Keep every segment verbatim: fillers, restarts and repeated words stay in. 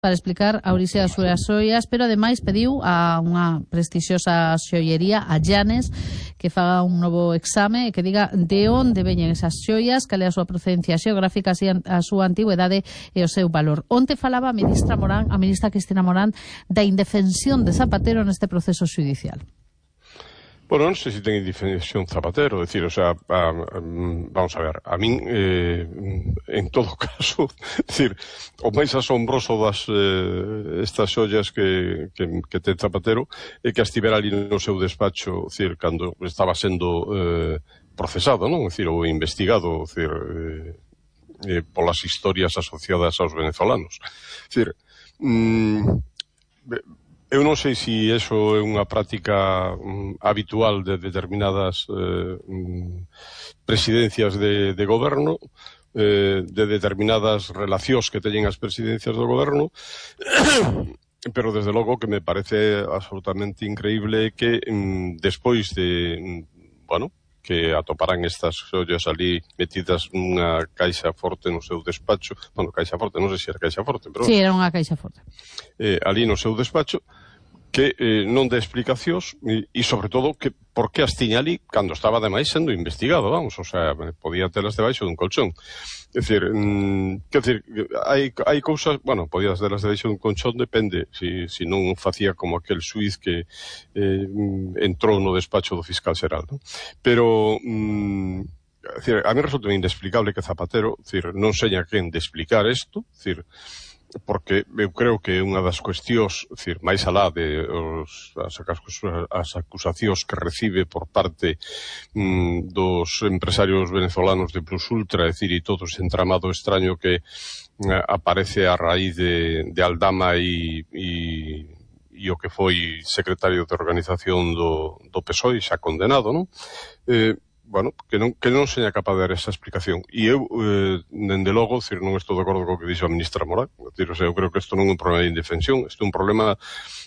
para explicar a orixe das súas xoias, pero ademais pediu a unha prestixiosa xoiería, a Llanes, que faga un novo exame e que diga de onde veñen esas xoias, cal é a súa procedencia xeográfica, a súa antigüedade e o seu valor. Onte falaba a ministra Morán, a ministra Cristina Morán, da indefensión de Zapatero neste proceso xudicial. Bueno, non sei se ten indefensión Zapatero, decir, o sea, a, a, vamos a ver, a min, eh, en todo caso, decir, o máis asombroso das eh, estas xollas que, que, que ten Zapatero é que estivera ali no seu despacho, decir, cando estaba sendo eh, procesado, non? Decir, ou investigado, decir, eh, eh, polas historias asociadas aos venezolanos. Decir, mm, eu non sei se iso é unha práctica um, habitual de determinadas eh, um, presidencias de, de goberno, eh, de determinadas relacións que teñen as presidencias do goberno, pero desde logo que me parece absolutamente increíble que um, despois de, um, bueno, que atoparán estas xollas ali metidas nunha caixa forte no seu despacho, bueno, caixa forte, non sei se era caixa forte, pero... Sí, era unha caixa forte. Eh, ali no seu despacho, que eh, non dé explicacións e, e sobre todo, que por que as tiña ali cando estaba ademais sendo investigado, vamos, o sea, podía telas debaixo dun colchón. É dicir, mm, quer dicir, hai, hai cousas, bueno, podía telas debaixo dun colchón, depende, si, si non facía como aquel xuiz que eh, entrou no despacho do fiscal xeral, non? Pero... Mm, é dicir, a mí resulta inexplicable que Zapatero, é dicir, non seña quen de explicar isto, é dicir, porque eu creo que unha das cuestións, decir, máis alá de os, as, as acusacións que recibe por parte mm, dos empresarios venezolanos de Plus Ultra, é dicir, e todo ese entramado extraño que eh, aparece a raíz de, de Aldama e, e, e o que foi secretario de organización do, do P S O E, xa condenado, non? Eh, bueno, que non, que non seña capaz de dar esa explicación. E eu, eh, dende logo, decir, non estou de acordo co que dixo a ministra Morán. Decir, o sea, eu creo que isto non é un problema de indefensión, isto é un problema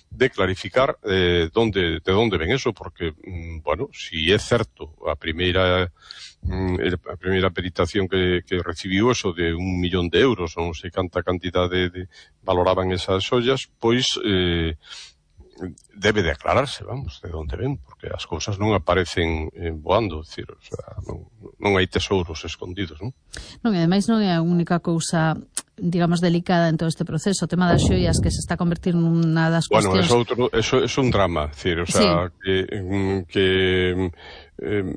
de clarificar eh, donde, de onde ven eso, porque, mm, bueno, si é certo a primeira mm, a primeira peritación que, que recibiu eso de un millón de euros, non sei canta cantidade de, valoraban esas xollas, pois... Eh, debe de aclararse, vamos, de onde ven, porque as cousas non aparecen eh, voando, decir, o sea, non, non hai tesouros escondidos, non? Non, e ademais non é a única cousa, digamos, delicada en todo este proceso, o tema das xoias que se está a convertir nunha das bueno, cuestións... Bueno, eso, eso é un drama, decir, o sea, sí. que, que eh,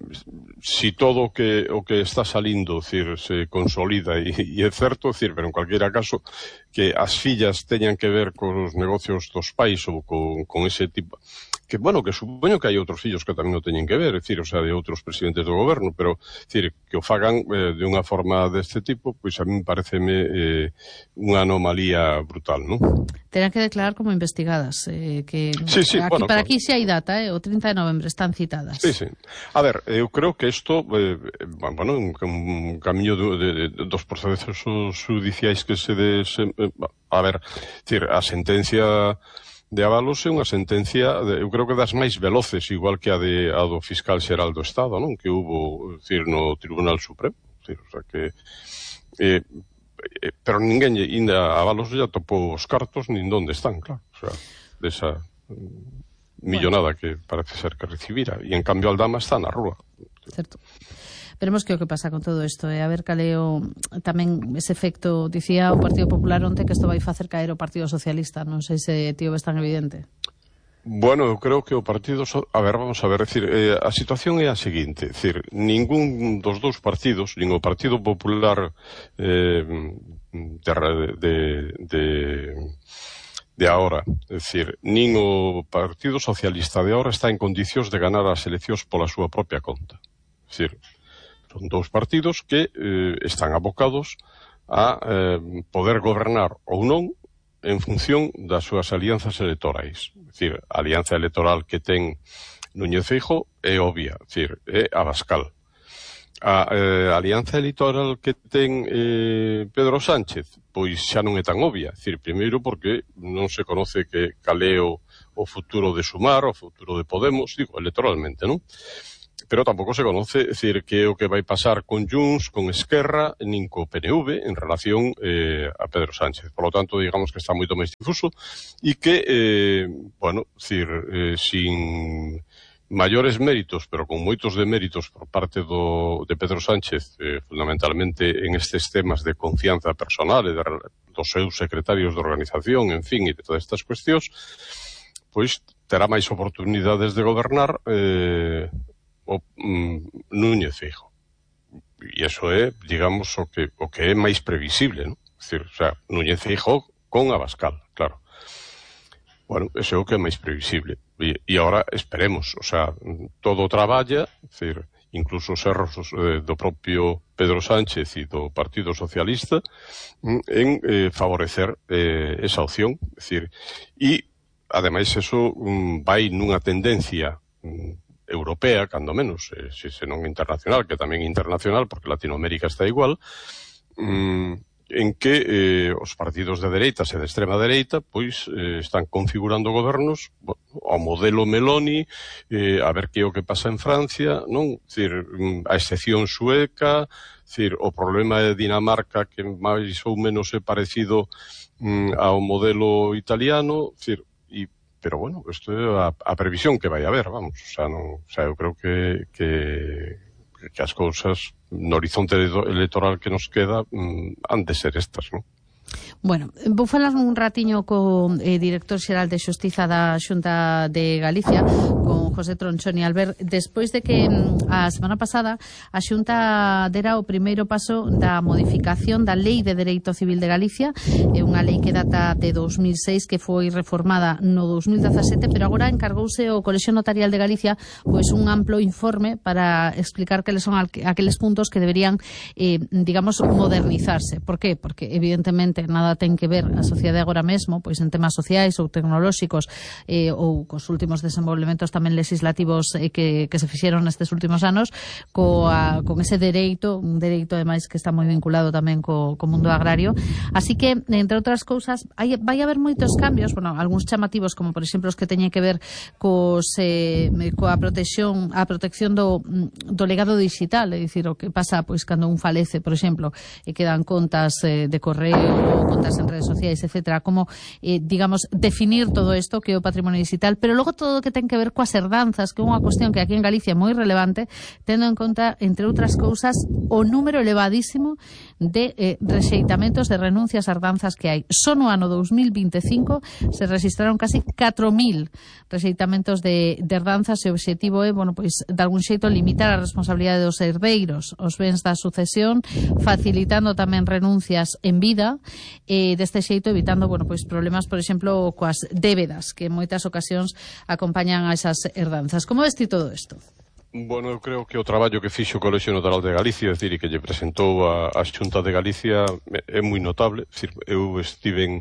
si todo o que, o que está salindo, decir, se consolida e, e é certo, decir, pero en cualquiera caso que as fillas teñan que ver cos negocios dos pais ou con, con ese tipo, que, bueno, que supoño que hai outros fillos que tamén o teñen que ver, é dicir, o sea, de outros presidentes do goberno, pero, dicir, que o fagan eh, de unha forma deste tipo, pois a mí pareceme eh, unha anomalía brutal, non? Terán que declarar como investigadas, eh, que sí, sí, aquí, bueno, para claro. Aquí xa hai data, eh, o trinta de novembro están citadas. Sí, sí. A ver, eu creo que isto, eh, bueno, un, un camiño de, de, de, dos procesos judiciais que se des... Eh, a ver, decir, a sentencia de Ábalos é unha sentencia, de, eu creo que das máis veloces, igual que a, de, a do fiscal xeral do Estado, non? Que hubo, decir, no Tribunal Supremo. Decir, o sea que... Eh, eh, pero ninguén, ainda Ábalos ya topou os cartos, nin donde están, claro. O sea, desa millonada bueno. que parece ser que recibira. E en cambio Aldama está na rúa. Certo. Veremos que o que pasa con todo isto, e eh? a ver cal é o, tamén ese efecto, dicía o Partido Popular onte que isto vai facer caer o Partido Socialista, non sei se tío ves tan evidente. Bueno, eu creo que o Partido... So... A ver, vamos a ver, decir, eh, a situación é a seguinte, decir, ningún dos dous partidos, nin o Partido Popular eh, de, de, de, de ahora, é dicir, nin o Partido Socialista de ahora está en condicións de ganar as eleccións pola súa propia conta. É dicir, son dous partidos que eh, están abocados a eh, poder gobernar ou non en función das súas alianzas electorais. É dicir, a alianza electoral que ten Núñez Feijóo é obvia, é dicir, é Abascal. A eh, alianza electoral que ten eh, Pedro Sánchez, pois xa non é tan obvia. É dicir, primeiro porque non se conoce que cal é o, o futuro de Sumar, o futuro de Podemos, digo, electoralmente, non? pero tampouco se conoce, decir, que é o que vai pasar con Junts, con Esquerra, nin co P N V en relación eh, a Pedro Sánchez. Por lo tanto, digamos que está moito máis difuso e que, eh, bueno, decir, eh, sin maiores méritos, pero con moitos deméritos por parte do, de Pedro Sánchez, eh, fundamentalmente en estes temas de confianza personal e de, dos seus secretarios de organización, en fin, e de todas estas cuestións, pois terá máis oportunidades de gobernar eh, o mm, Núñez Feijóo. E iso é, digamos, o que, o que é máis previsible, ¿no? Es decir, o sea, Núñez Feijóo con Abascal, claro. Bueno, eso é o que é máis previsible. E, e agora esperemos, o sea, todo traballa, es decir, incluso os erros eh, do propio Pedro Sánchez e do Partido Socialista en eh, favorecer eh, esa opción, es decir, e ademais eso um, vai nunha tendencia um, europea, cando menos, eh, se, se non internacional, que tamén internacional, porque Latinoamérica está igual, um, en que eh, os partidos de dereitas e de extrema dereita pois eh, están configurando gobernos bueno, ao modelo Meloni, eh, a ver que é o que pasa en Francia, non? Dicir, a excepción sueca, dicir, o problema de Dinamarca que máis ou menos é parecido mm, ao modelo italiano, dicir, e pero bueno, isto é a, a previsión que vai haber, vamos, o sea, non, o sea, eu creo que, que, que as cousas no horizonte electoral que nos queda mm, han de ser estas, non? Bueno, vou falar un ratiño co eh, director xeral de Xustiza da Xunta de Galicia, con José Tronchón e Albert, despois de que a semana pasada a Xunta dera o primeiro paso da modificación da Lei de Dereito Civil de Galicia, é unha lei que data de dos mil seis, que foi reformada no dos mil dezasete, pero agora encargouse o Colexio Notarial de Galicia pois un amplo informe para explicar que son aqueles puntos que deberían, eh, digamos, modernizarse. Por qué? Porque evidentemente nada ten que ver a sociedade agora mesmo pois en temas sociais ou tecnolóxicos eh, ou cos últimos desenvolvementos tamén legislativos eh, que, que se fixeron nestes últimos anos coa, con ese dereito, un dereito ademais que está moi vinculado tamén co, co mundo agrario. Así que, entre outras cousas, hai, vai haber moitos cambios, bueno, algúns chamativos como por exemplo os que teñen que ver cos, eh, coa protección a protección do, do legado digital, é dicir, o que pasa pois cando un falece, por exemplo, e quedan contas eh, de correo ou contas en redes sociais, etcétera, como, eh, digamos, definir todo isto que é o patrimonio digital, pero logo todo o que ten que ver coas herdanzas, que é unha cuestión que aquí en Galicia é moi relevante, tendo en conta, entre outras cousas, o número elevadísimo de eh, rexeitamentos de renuncias a herdanzas que hai. Só no ano dos mil veinticinco se registraron casi catro mil rexeitamentos de, de herdanzas e o obxectivo é, bueno, pois, de algún xeito limitar a responsabilidade dos herdeiros, os bens da sucesión, facilitando tamén renuncias en vida, e deste xeito evitando, bueno, pois problemas, por exemplo, coas débedas que en moitas ocasións acompañan a esas herdanzas. Como ves ti todo isto? Bueno, eu creo que o traballo que fixo o Colexio Notarial de Galicia, é dicir, e que lle presentou a, a Xunta de Galicia é moi notable. É dicir, eu estive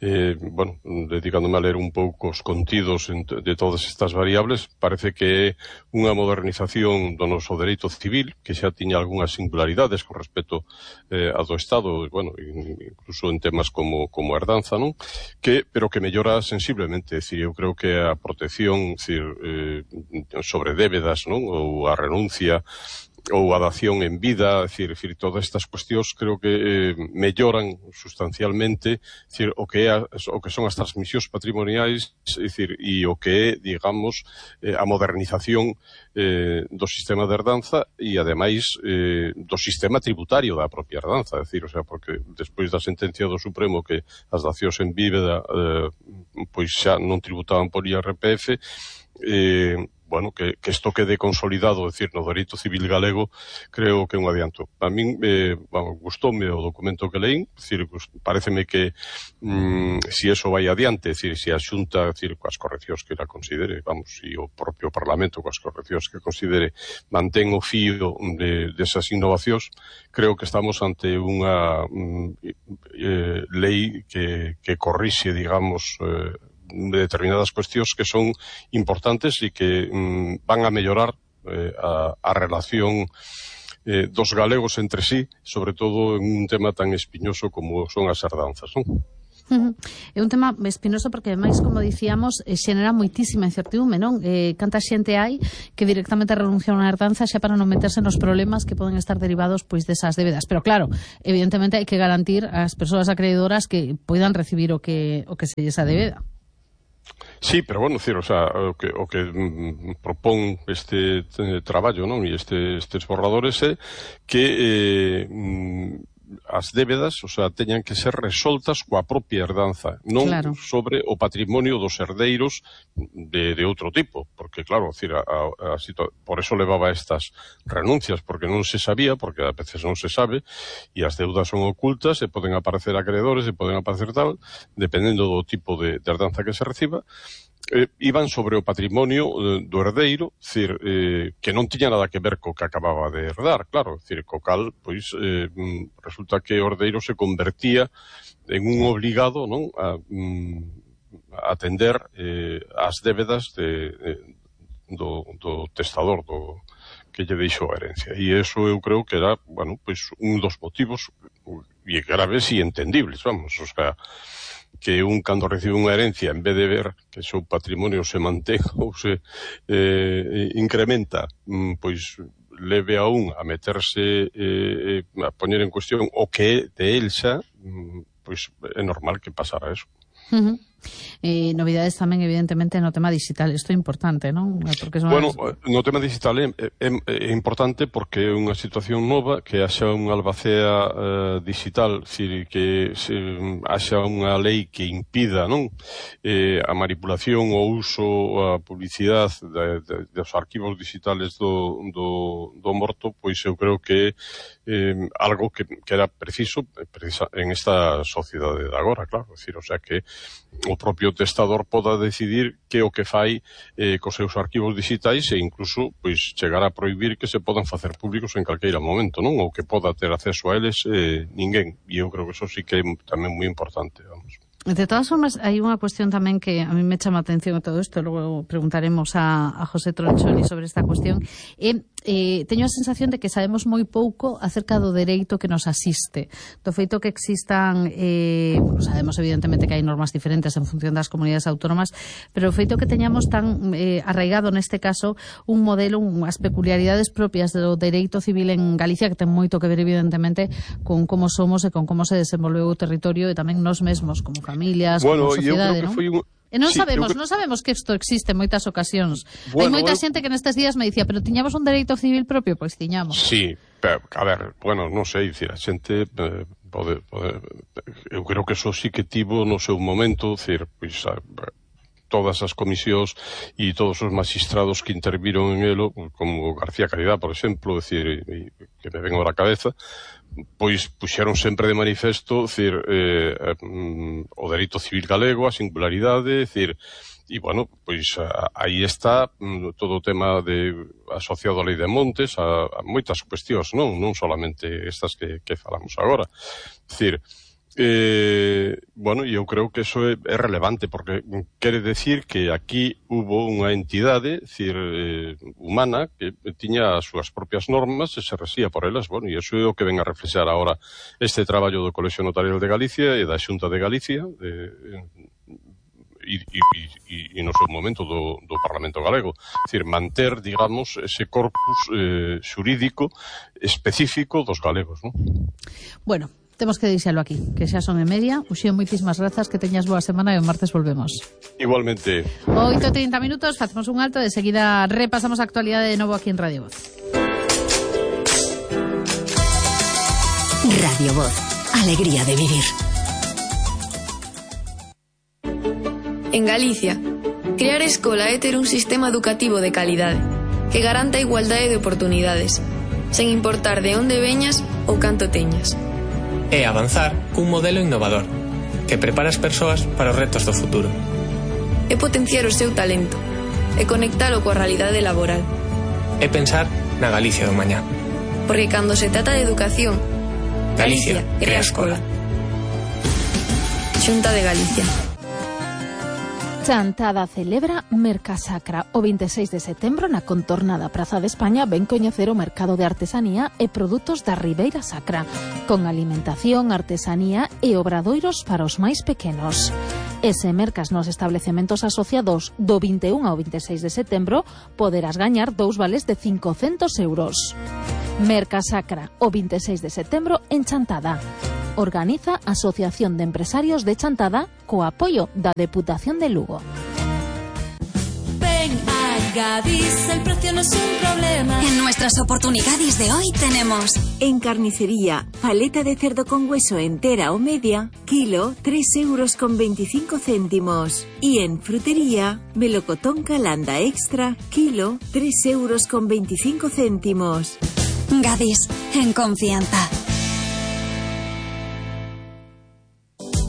eh, bueno, dedicándome a ler un pouco os contidos de todas estas variables. Parece que é unha modernización do noso dereito civil, que xa tiña algunhas singularidades con respecto eh, a do Estado, bueno, incluso en temas como, como herdanza, non? Que, pero que mellora sensiblemente. É dicir, eu creo que a protección, é dicir, eh, sobre débedas, non? Ou a renuncia ou a dación en vida, é dicir, é dicir, todas estas cuestións creo que eh, melloran sustancialmente, é dicir, o que é a, o que son as transmisións patrimoniais, é dicir, e o que é, digamos, eh, a modernización eh, do sistema de herdanza e ademais eh, do sistema tributario da propia herdanza, é dicir, o sea, porque despois da sentencia do Supremo que as dacións en vida eh, pois xa non tributaban por I R P F, eh, bueno, que, que isto quede consolidado, é dicir, no dereito civil galego, creo que é un adianto. A min, eh, bueno, gustoume o documento que leín, é dicir, pareceme que mm, si eso vai adiante, é dicir, si a Xunta, é dicir, coas correccións que la considere, vamos, e o propio Parlamento coas correccións que considere, mantén o fío de, desas innovacións, creo que estamos ante unha mm, eh, lei que, que corrixe, digamos, eh, de determinadas cuestións que son importantes e que mm, van a mellorar eh, a, a relación eh, dos galegos entre sí, sobre todo en un tema tan espiñoso como son as herdanzas, non? Uh-huh. É un tema espinoso porque, ademais, como dicíamos, xenera moitísima incertidume, non? Eh, canta xente hai que directamente renuncia a unha herdanza xa para non meterse nos problemas que poden estar derivados pois desas débedas. Pero claro, evidentemente hai que garantir ás persoas acreedoras que poidan recibir o que o que se esa débeda. Sí, pero bueno, decir, o sea, o que, o que mm, propón este eh, traballo, non? E este, estes borradores é que eh, mm, as débedas, o sea, teñan que ser resoltas coa propia herdanza, non claro. sobre o patrimonio dos herdeiros de, de outro tipo, porque claro, decir, a, a, a situa- por eso levaba estas renuncias, porque non se sabía, porque a veces non se sabe, e as deudas son ocultas, e poden aparecer acreedores, e poden aparecer tal, dependendo do tipo de, de herdanza que se reciba. Eh, iban sobre o patrimonio eh, do herdeiro, decir, eh, que non tiña nada que ver co que acababa de herdar, claro, decir, co cal, pois, eh, resulta que o herdeiro se convertía en un obligado, non, a, a atender eh, as débedas de, de, do, do testador, do que lle deixou a herencia. E eso eu creo que era, bueno, pois, un dos motivos, e graves e entendibles, vamos, o sea, que un cando recibe unha herencia, en vez de ver que o seu patrimonio se mantén ou se eh, incrementa, pois leve a un a meterse, eh, a poñer en cuestión o que é de el xa, pois é normal que pasara eso. Uh-huh. Eh, novidades tamén, evidentemente, no tema digital. Isto é importante, non? Porque son bueno, as... no tema digital é, é, é importante porque é unha situación nova que haxa unha albacea eh, digital, decir, que se, haxa unha lei que impida, non, eh, a manipulación ou uso, a publicidade de, de, dos arquivos digitales do, do, do morto, pois eu creo que é eh, algo que, que era preciso precisa, en esta sociedade de agora, claro, decir, o sea que o propio testador poda decidir que o que fai eh, cos seus arquivos digitais e incluso pois chegar a prohibir que se podan facer públicos en calqueira momento, non? Ou que poda ter acceso a eles eh, ninguén. E eu creo que eso sí que é tamén moi importante, vamos. De todas formas, hai unha cuestión tamén que a mí me chama a atención a todo isto, logo preguntaremos a, a José Tronchoni sobre esta cuestión. E, eh, teño a sensación de que sabemos moi pouco acerca do dereito que nos asiste. Do feito que existan, eh, bueno, sabemos evidentemente que hai normas diferentes en función das comunidades autónomas, pero o feito que teñamos tan eh, arraigado neste caso un modelo, unhas peculiaridades propias do dereito civil en Galicia que ten moito que ver evidentemente con como somos e con como se desenvolveu o territorio e tamén nos mesmos como familias, bueno, como sociedade, non? Un... E non sí, sabemos, creo... non sabemos que isto existe en moitas ocasións. Bueno, Hai moita eu... xente que nestes días me dicía, pero tiñamos un dereito civil propio, pois tiñamos. Sí, pero, a ver, bueno, non sei, dicir, a xente eh, pode, pode, eu creo que eso sí que tivo no seu momento, dicir, pois, a, todas as comisións e todos os magistrados que interviron en elo, como García Caridad, por exemplo, decir, que me ven ahora a cabeza, pois puxeron sempre de manifesto, decir, eh, eh, o dereito civil galego, a singularidade, decir, e, bueno, pois a, aí está mm, todo o tema de asociado á lei de montes, a, a moitas cuestións, non? Non solamente estas que, que falamos agora. Decir, Eh, bueno, eu creo que eso é, é relevante porque quere decir que aquí hubo unha entidade, decir, eh, humana que tiña as súas propias normas e se resía por elas, bueno, e iso é o que ven a reflexar ahora este traballo do Colexio Notarial de Galicia e da Xunta de Galicia de, e, e, e, e no seu momento do, do Parlamento Galego, decir, manter, digamos, ese corpus eh, xurídico específico dos galegos, non? Bueno, temos que deixalo aquí, que xa son e media. Uxío, moitísimas grazas, que teñas boa semana e o martes volvemos. Igualmente. oito e trinta minutos, facemos un alto, de seguida repasamos a actualidade de novo aquí en Radio Voz. Radio Voz, alegría de vivir. En Galicia, crear escola é ter un sistema educativo de calidade que garanta a igualdade de oportunidades, sen importar de onde veñas ou canto teñas. É avanzar cun modelo innovador que prepara as persoas para os retos do futuro. É potenciar o seu talento e conectalo coa realidade laboral. É pensar na Galicia do mañá. Porque cando se trata de educación, Galicia, Galicia crea crea escola. escola. Xunta de Galicia. Chantada celebra Mercasacra. O veintiséis de setembro na contornada Praza de España ven coñecer o mercado de artesanía e produtos da Ribeira Sacra, con alimentación, artesanía e obradoiros para os máis pequenos. E se mercas nos establecementos asociados do vinte e un ao veintiséis de setembro, poderás gañar dous vales de cincocentos euros. Mercasacra, o veintiséis de setembro en Chantada. Organiza Asociación de Empresarios de Chantada co apoio da Deputación de Lugo. Ven a Gadis, el precio no es un problema. En nuestras oportunidades de hoy tenemos: en carnicería, paleta de cerdo con hueso entera o media, kilo, tres euros con veinticinco céntimos. Y en frutería, melocotón Calanda extra, kilo, tres euros con veinticinco céntimos. Gadis, en confianza.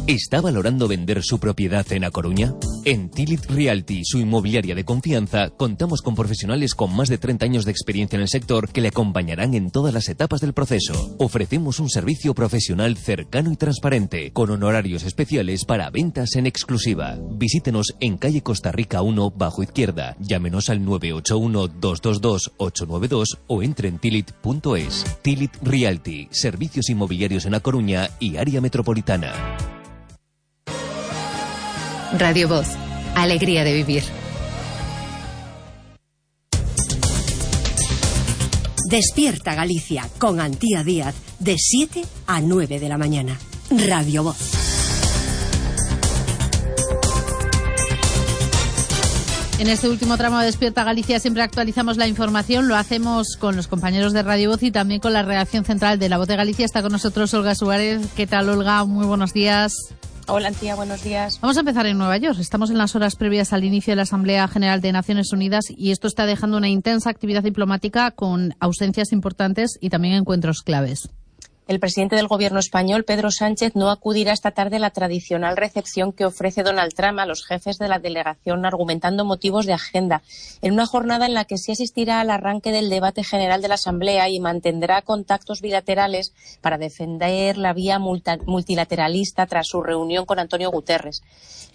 ¿Está valorando vender su propiedad en A Coruña? En Tilit Realty, su inmobiliaria de confianza, contamos con profesionales con más de treinta años de experiencia en el sector que le acompañarán en todas las etapas del proceso. Ofrecemos un servicio profesional cercano y transparente, con honorarios especiales para ventas en exclusiva. Visítenos en calle Costa Rica uno, bajo izquierda. Llámenos al nueve ocho uno, dos dos dos, ocho nueve dos o entre en tilit punto es. Tilit Realty, servicios inmobiliarios en A Coruña y área metropolitana. Radio Voz, alegría de vivir. Despierta Galicia con Antía Díaz de siete a nueve de la mañana. Radio Voz. En este último tramo de Despierta Galicia siempre actualizamos la información. Lo hacemos con los compañeros de Radio Voz y también con la redacción central de La Voz de Galicia. Está con nosotros Olga Suárez. ¿Qué tal, Olga? Muy buenos días. Hola, Antía, buenos días. Vamos a empezar en Nueva York. Estamos en las horas previas al inicio de la Asamblea General de Naciones Unidas y esto está dejando una intensa actividad diplomática con ausencias importantes y también encuentros claves. El presidente del Gobierno español, Pedro Sánchez, no acudirá esta tarde a la tradicional recepción que ofrece Donald Trump a los jefes de la delegación, argumentando motivos de agenda, en una jornada en la que sí asistirá al arranque del debate general de la Asamblea y mantendrá contactos bilaterales para defender la vía multilateralista tras su reunión con Antonio Guterres.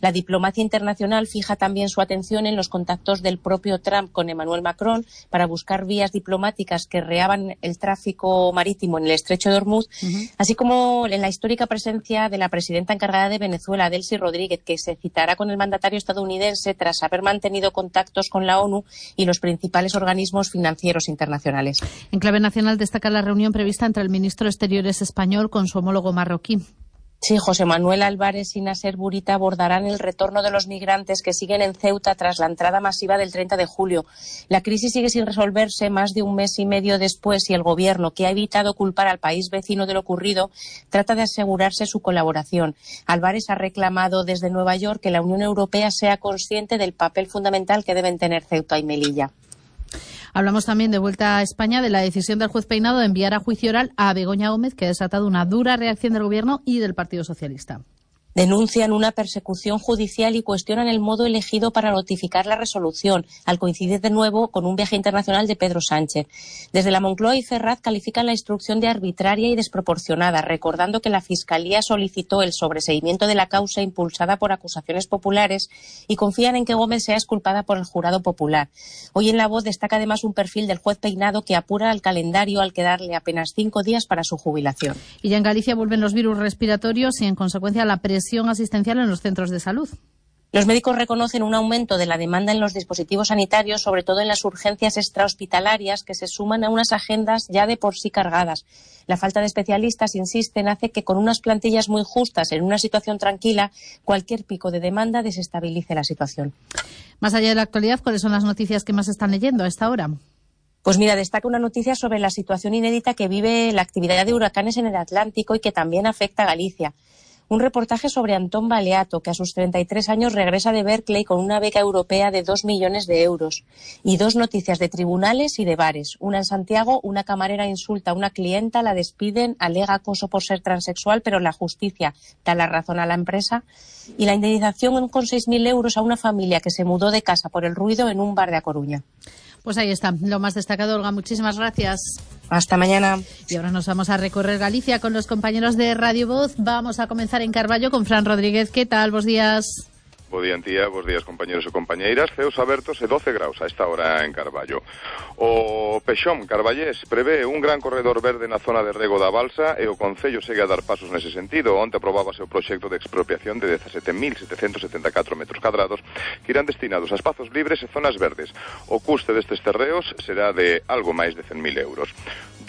La diplomacia internacional fija también su atención en los contactos del propio Trump con Emmanuel Macron para buscar vías diplomáticas que reaban el tráfico marítimo en el estrecho de Hormuz, Uh-huh. así como en la histórica presencia de la presidenta encargada de Venezuela, Delcy Rodríguez, que se citará con el mandatario estadounidense tras haber mantenido contactos con la ONU y los principales organismos financieros internacionales. En clave nacional destaca la reunión prevista entre el ministro de Exteriores español con su homólogo marroquí. Sí, José Manuel Álvarez y Nasser Bourita abordarán el retorno de los migrantes que siguen en Ceuta tras la entrada masiva del treinta de julio. La crisis sigue sin resolverse más de un mes y medio después y el Gobierno, que ha evitado culpar al país vecino de lo ocurrido, trata de asegurarse su colaboración. Álvarez ha reclamado desde Nueva York que la Unión Europea sea consciente del papel fundamental que deben tener Ceuta y Melilla. Hablamos también de vuelta a España de la decisión del juez Peinado de enviar a juicio oral a Begoña Gómez, que ha desatado una dura reacción del Gobierno y del Partido Socialista. Denuncian una persecución judicial y cuestionan el modo elegido para notificar la resolución, al coincidir de nuevo con un viaje internacional de Pedro Sánchez. Desde la Moncloa y Ferraz califican la instrucción de arbitraria y desproporcionada, recordando que la Fiscalía solicitó el sobreseimiento de la causa impulsada por acusaciones populares y confían en que Gómez sea exculpada por el jurado popular. Hoy en La Voz destaca además un perfil del juez Peinado que apura el calendario al quedarle apenas cinco días para su jubilación. Y ya en Galicia vuelven los virus respiratorios y en consecuencia la presión asistencial en los centros de salud. Los médicos reconocen un aumento de la demanda en los dispositivos sanitarios, sobre todo en las urgencias extrahospitalarias, que se suman a unas agendas ya de por sí cargadas. La falta de especialistas, insisten, hace que con unas plantillas muy justas en una situación tranquila, cualquier pico de demanda desestabilice la situación. Más allá de la actualidad, ¿cuáles son las noticias que más están leyendo a esta hora? Pues mira, destaca una noticia sobre la situación inédita que vive la actividad de huracanes en el Atlántico y que también afecta a Galicia. Un reportaje sobre Antón Baleato, que a sus treinta y tres años regresa de Berkeley con una beca europea de dos millones de euros. Y dos noticias de tribunales y de bares. Una en Santiago, una camarera insulta a una clienta, la despiden, alega acoso por ser transexual, pero la justicia da la razón a la empresa. Y la indemnización con seis mil euros a una familia que se mudó de casa por el ruido en un bar de A Coruña. Pues ahí está, lo más destacado, Olga. Muchísimas gracias. Hasta mañana. Y ahora nos vamos a recorrer Galicia con los compañeros de Radio Voz. Vamos a comenzar en Carballo con Fran Rodríguez. ¿Qué tal? Buenos días. Bo día, Antía, bos días, compañeros e compañeiras. Ceos abertos e doce graus a esta hora en Carballo. O Pexón Carballés prevé un gran corredor verde na zona de rego da balsa e o Concello segue a dar pasos nese sentido. Onte aprobábase o proxecto de expropiación de dezasete mil setecentos setenta e catro metros cadrados que irán destinados a espazos libres e zonas verdes. O custe destes terreos será de algo máis de cen mil euros.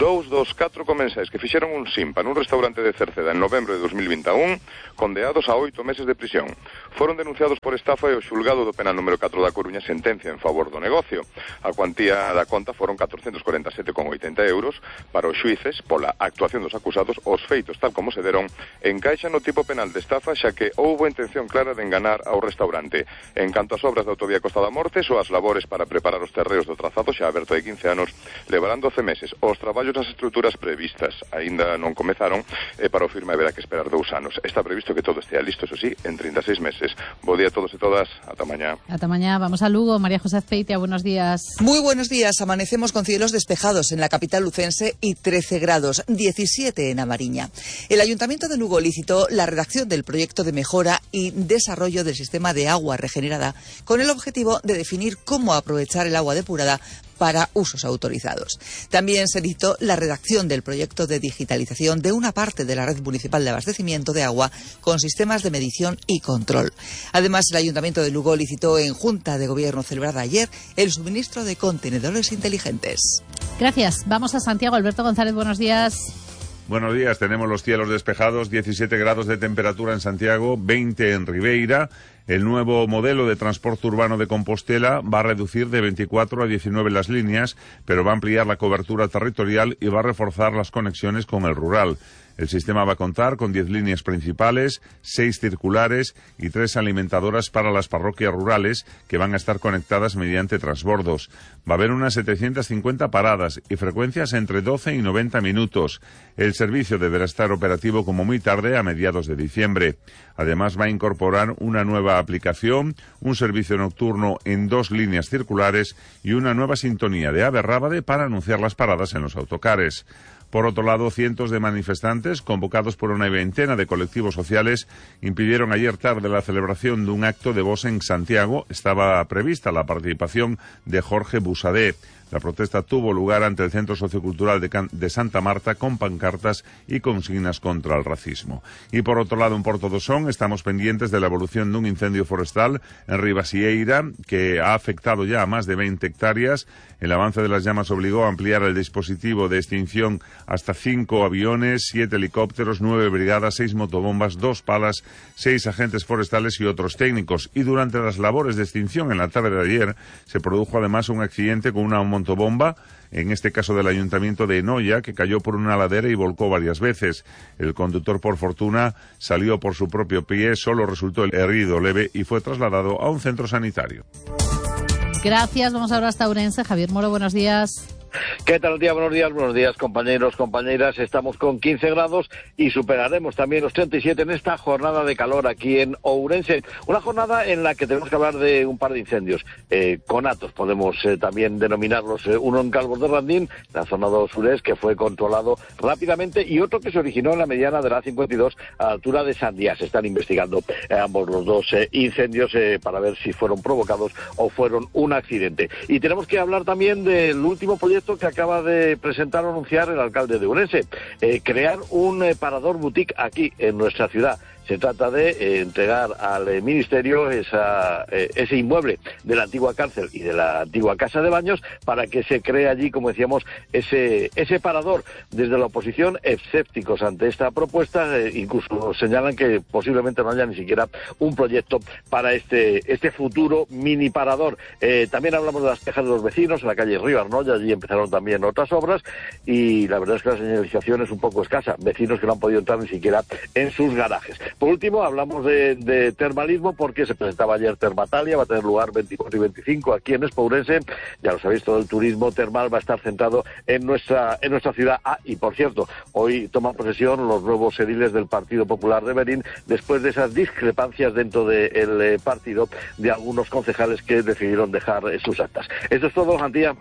Dous dos catro comensais que fixeron un simpa nun restaurante de Cerceda en novembro de dos mil vinte e un, condeados a oito meses de prisión. Foron denunciados por estafa e o xulgado do penal número catro da Coruña sentencia en favor do negocio. A cuantía da conta foron catrocentos corenta e sete coma oitenta euros. Para os xuíces, pola actuación dos acusados, os feitos tal como se deron encaixan no tipo penal de estafa, xa que houbo intención clara de enganar ao restaurante. En canto ás obras da autovía Costa da Morte, so as labores para preparar os terreos do trazado, xa aberto de quince anos, levarán doce meses. Os traballos nas estruturas previstas aínda non comezaron e para o firme haberá que esperar dous anos. Está previsto que todo estea listo, eso sí, en treinta e seis meses. Bo día a todos e todas. Ata mañá. Ata mañá. Vamos a Lugo. María José Azpeitia, buenos días. Muy buenos días. Amanecemos con cielos despejados en la capital lucense y trece grados, diecisiete en Amariña. El Ayuntamiento de Lugo licitó la redacción del proyecto de mejora y desarrollo del sistema de agua regenerada con el objetivo de definir cómo aprovechar el agua depurada para usos autorizados. También se licitó la redacción del proyecto de digitalización de una parte de la red municipal de abastecimiento de agua con sistemas de medición y control. Además, el Ayuntamiento de Lugo licitó en Junta de Gobierno celebrada ayer el suministro de contenedores inteligentes. Gracias. Vamos a Santiago. Alberto González, buenos días. Buenos días, tenemos los cielos despejados, diecisiete grados de temperatura en Santiago, veinte en Ribeira. El nuevo modelo de transporte urbano de Compostela va a reducir de veinticuatro a diecinueve las líneas, pero va a ampliar la cobertura territorial y va a reforzar las conexiones con el rural. El sistema va a contar con diez líneas principales, seis circulares y tres alimentadoras para las parroquias rurales que van a estar conectadas mediante transbordos. Va a haber unas setecientas cincuenta paradas y frecuencias entre doce y noventa minutos. El servicio deberá estar operativo como muy tarde a mediados de diciembre. Además va a incorporar una nueva aplicación, un servicio nocturno en dos líneas circulares y una nueva sintonía de Ave Rábade para anunciar las paradas en los autocares. Por otro lado, cientos de manifestantes, convocados por una veintena de colectivos sociales, impidieron ayer tarde la celebración de un acto de voz en Santiago. Estaba prevista la participación de Jorge Busadé. La protesta tuvo lugar ante el Centro Sociocultural de, Can de Santa Marta con pancartas y consignas contra el racismo. Y por otro lado, en Porto do Son, estamos pendientes de la evolución de un incendio forestal en Ribasieira que ha afectado ya a más de veinte hectáreas. El avance de las llamas obligó a ampliar el dispositivo de extinción hasta cinco aviones, siete helicópteros, nueve brigadas, seis motobombas, dos palas, seis agentes forestales y otros técnicos. Y durante las labores de extinción en la tarde de ayer se produjo además un accidente con una motobomba, en este caso del Ayuntamiento de Enoia, que cayó por una ladera y volcó varias veces. El conductor, por fortuna, salió por su propio pie, solo resultó herido leve y fue trasladado a un centro sanitario. Gracias. Vamos ahora hasta Ourense. Javier Moro, buenos días. ¿Qué tal, tía? Buenos días, buenos días, compañeros, compañeras. Estamos con quince grados y superaremos también los treinta y siete en esta jornada de calor aquí en Ourense. Una jornada en la que tenemos que hablar de un par de incendios. Eh, conatos, podemos eh, también denominarlos. Eh, uno en Calvos de Randín, la zona dos sureste, que fue controlado rápidamente, y otro que se originó en la mediana de la cincuenta y dos a la altura de Sandía. Se están investigando eh, ambos los dos eh, incendios eh, para ver si fueron provocados o fueron un accidente. Y tenemos que hablar también del último proyecto que acaba de presentar o anunciar el alcalde de Ourense, eh, crear un eh, parador boutique aquí en nuestra ciudad. Se trata de eh, entregar al eh, Ministerio esa, eh, ese inmueble de la antigua cárcel y de la antigua casa de baños para que se cree allí, como decíamos, ese, ese parador. Desde la oposición, escépticos ante esta propuesta, eh, incluso señalan que posiblemente no haya ni siquiera un proyecto para este, este futuro mini parador. Eh, también hablamos de las quejas de los vecinos en la calle Río Arnoya, allí empezaron también otras obras y la verdad es que la señalización es un poco escasa. Vecinos que no han podido entrar ni siquiera en sus garajes. Por último, hablamos de, de termalismo porque se presentaba ayer Termatalia, va a tener lugar veinticuatro y veinticinco aquí en Expo Ourense. Ya lo sabéis, todo el turismo termal va a estar centrado en nuestra en nuestra ciudad. Ah, y por cierto, hoy toman posesión los nuevos ediles del Partido Popular de Berín después de esas discrepancias dentro del eh, partido de algunos concejales que decidieron dejar eh, sus actas. Esto es todo, Antía.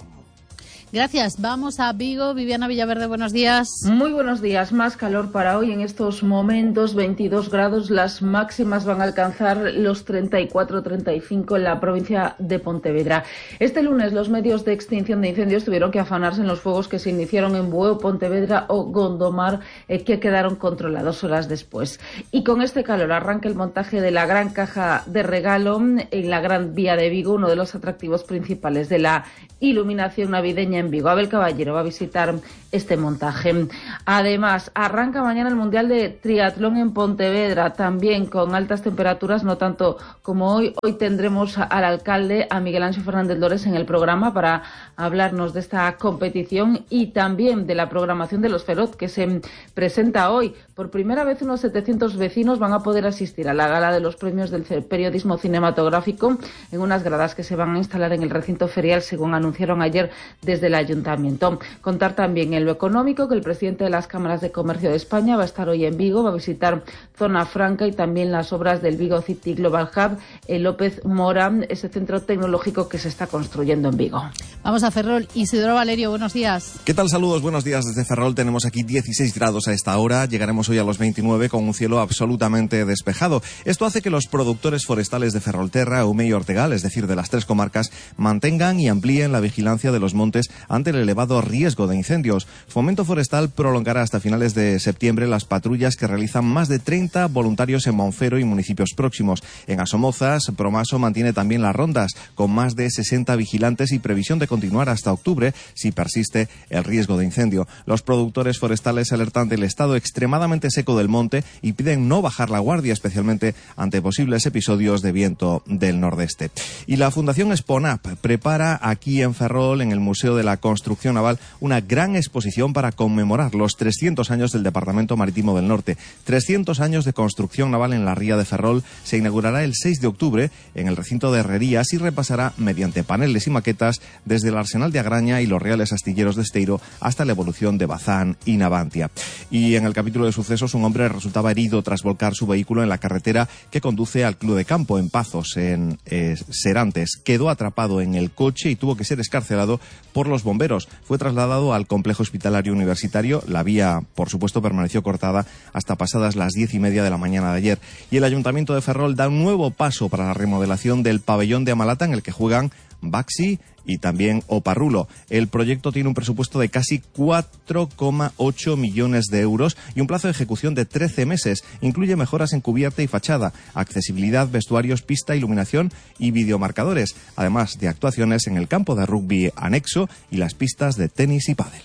Gracias. Vamos a Vigo. Viviana Villaverde, buenos días. Muy buenos días. Más calor para hoy en estos momentos, veintidós grados. Las máximas van a alcanzar los treinta y cuatro treinta y cinco en la provincia de Pontevedra. Este lunes los medios de extinción de incendios tuvieron que afanarse en los fuegos que se iniciaron en Bueu, Pontevedra o Gondomar, eh, que quedaron controlados horas después. Y con este calor arranca el montaje de la gran caja de regalo en la Gran Vía de Vigo, uno de los atractivos principales de la iluminación navideña en Vigo. Abel Caballero va a visitar este montaje. Además, arranca mañana el Mundial de Triatlón en Pontevedra, también con altas temperaturas, no tanto como hoy. Hoy tendremos al alcalde, a Miguel Ángel Fernández Lores, en el programa para hablarnos de esta competición y también de la programación de los Feroz, que se presenta hoy. Por primera vez unos setecientos vecinos van a poder asistir a la gala de los premios del periodismo cinematográfico en unas gradas que se van a instalar en el recinto ferial, según anunciaron ayer desde el ayuntamiento. Contar también en lo económico que el presidente de las cámaras de comercio de España va a estar hoy en Vigo, va a visitar Zona Franca y también las obras del Vigo City Global Hub, el López Mora, ese centro tecnológico que se está construyendo en Vigo. Vamos a Ferrol. Isidoro Valerio, buenos días. ¿Qué tal? Saludos, buenos días desde Ferrol. Tenemos aquí dieciséis grados a esta hora. Llegaremos hoy a los veintinueve con un cielo absolutamente despejado. Esto hace que los productores forestales de Ferrolterra, Eume y Ortegal, es decir, de las tres comarcas, mantengan y amplíen la vigilancia de los montes ante el elevado riesgo de incendios. Fomento Forestal prolongará hasta finales de septiembre las patrullas que realizan más de treinta voluntarios en Monfero y municipios próximos. En Asomozas, Promaso mantiene también las rondas, con más de sesenta vigilantes y previsión de continuar hasta octubre si persiste el riesgo de incendio. Los productores forestales alertan del estado extremadamente seco del monte y piden no bajar la guardia, especialmente ante posibles episodios de viento del nordeste. Y la Fundación Sponap prepara aquí en Ferrol, en el Museo de la Construcción Naval, una gran exposición para conmemorar los trescientos años del Departamento Marítimo del Norte. trescientos años de construcción naval en la ría de Ferrol. Se inaugurará el seis de octubre en el recinto de Herrerías y repasará mediante paneles y maquetas desde el arsenal de Agraña y los reales astilleros de Esteiro hasta la evolución de Bazán y Navantia. Y en el capítulo de sucesos, un hombre resultaba herido tras volcar su vehículo en la carretera que conduce al Club de Campo en Pazos, en eh, Serantes. Quedó atrapado en el coche y tuvo que ser escarcelado por los bomberos. Fue trasladado al complejo hospitalario universitario. La vía, por supuesto, permaneció cortada hasta pasadas las diez y media de la mañana de ayer. Y el Ayuntamiento de Ferrol da un nuevo paso para la remodelación del pabellón de Amalata, en el que juegan Baxi y también Oparrulo. El proyecto tiene un presupuesto de casi cuatro coma ocho millones de euros y un plazo de ejecución de trece meses. Incluye mejoras en cubierta y fachada, accesibilidad, vestuarios, pista, iluminación y videomarcadores, además de actuaciones en el campo de rugby anexo y las pistas de tenis y pádel.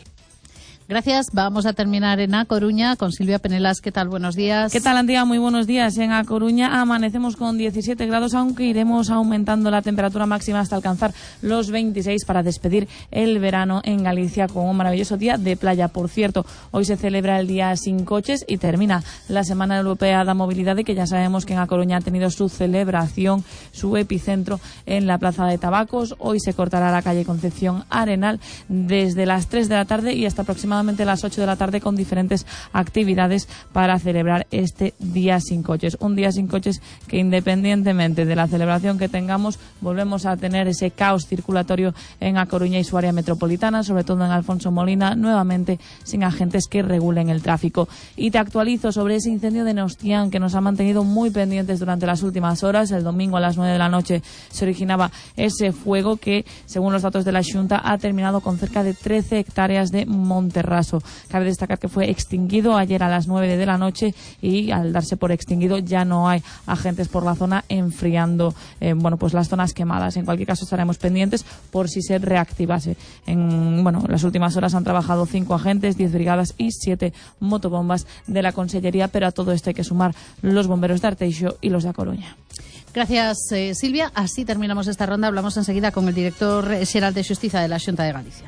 Gracias. Vamos a terminar en A Coruña con Silvia Penelas. ¿Qué tal? Buenos días. ¿Qué tal, Antía? Muy buenos días. En A Coruña amanecemos con diecisiete grados, aunque iremos aumentando la temperatura máxima hasta alcanzar los veintiséis para despedir el verano en Galicia con un maravilloso día de playa. Por cierto, hoy se celebra el Día Sin Coches y termina la Semana Europea de Movilidad, y que ya sabemos que en A Coruña ha tenido su celebración, su epicentro en la Plaza de Tabacos. Hoy se cortará la calle Concepción Arenal desde las tres de la tarde y hasta aproximadamente a las ocho de la tarde, con diferentes actividades para celebrar este Día Sin Coches. Un Día Sin Coches que, independientemente de la celebración que tengamos, volvemos a tener ese caos circulatorio en A Coruña y su área metropolitana, sobre todo en Alfonso Molina, nuevamente sin agentes que regulen el tráfico. Y te actualizo sobre ese incendio de Nostián, que nos ha mantenido muy pendientes durante las últimas horas. El domingo a las nueve de la noche se originaba ese fuego que, según los datos de la Xunta, ha terminado con cerca de trece hectáreas de monte Raso. Cabe destacar que fue extinguido ayer a las nueve de la noche y, al darse por extinguido, ya no hay agentes por la zona enfriando eh, bueno, pues las zonas quemadas. En cualquier caso, estaremos pendientes por si se reactivase. En bueno, las últimas horas han trabajado cinco agentes, diez brigadas y siete motobombas de la Consellería, pero a todo esto hay que sumar los bomberos de Arteixo y los de A Coruña. Gracias, eh, Silvia. Así terminamos esta ronda. Hablamos enseguida con el director xeral de Xustiza de la Xunta de Galicia.